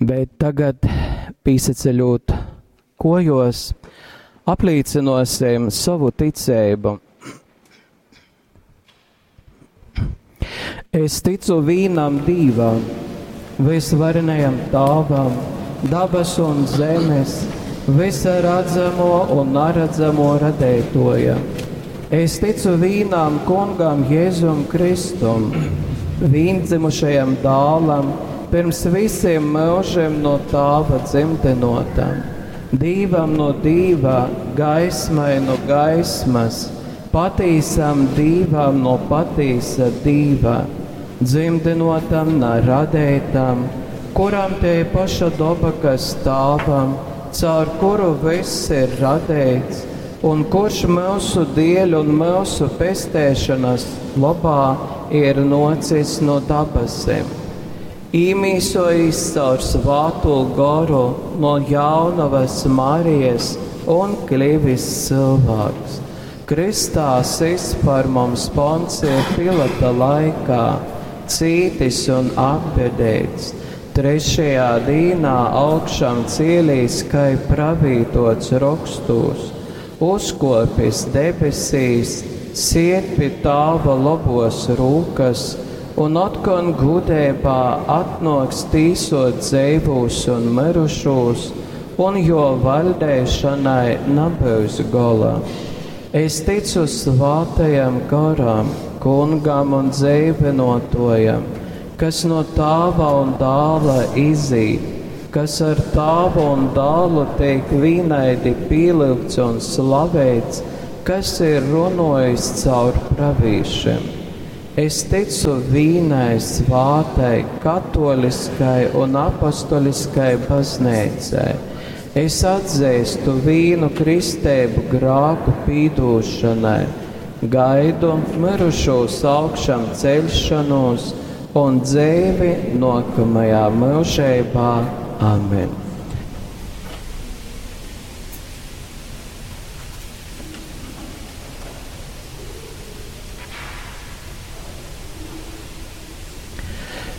Bet tagad, pīsaceļot kojos, aplīcinosim savu ticeibu. Es ticu vīnam Dīvam, visvarenajam Tāvam, dabas un zemes, visa redzamo un naredzamo radētojam. Es ticu vīnam kungam Jēzum Kristum, vīndzimušajam dālam, pirms visiem mūžiem no Tāva dzimtenotam, Dīvam no Dīva, gaismai no gaismas, patīsam Dīvam no patīsa Dīva, dzimtenotam, na radētam, kuram te paša doba, kas Tāvam, caur kuru viss ir radēts, un kurš mūsu dieļ un mūsu pestēšanas labā ir nocis no dabasim. Īmīsojis caur svāto goru no jaunavas Marijas un kļuvis cilvēks. Kristā sis par mums Poncija Pilata laikā, cītis un apbedēts, trešajā dīnā augšām cielīs, kai pravītots rokstūs, uzkopis debesīs, siet pie tāva lobos rūkas, un otkon gudībā atnoks tīsot dzeivūs un mirušūs, un jo valdēšanai nebūs gola. Es ticu svātajam garam, kungam un dzīvinotojam, kas no tāva un dāla izīt, kas ar tāvu un dālu tiek vienaidi pielūgts un slavēts, kas ir runojis caur pravīšiem. Es ticu vīnai svātai, katoliskai un apostoliskai baznīcai. Es atzīstu vīnu kristēbu grāku pīdūšanai, gaidu mirušos augšām ceļšanos un dzīvi nākamajā mūžībā. Amen!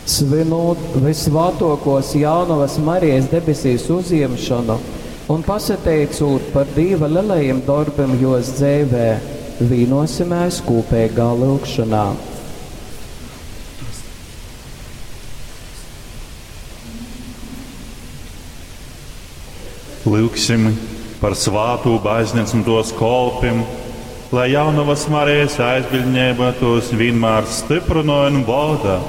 Svinot visvātokos jaunavas Marijas debesīs uzjemšanu un pasateicot par Dīva lielajiem darbiem jos dzīvē, vīnosimies kopīgā lūgšanā. Lūksim par svātū baznīcu un tos kolpim, lai jaunavas Marijas aizbildņēba tos vienmēr stiprinoja un valda.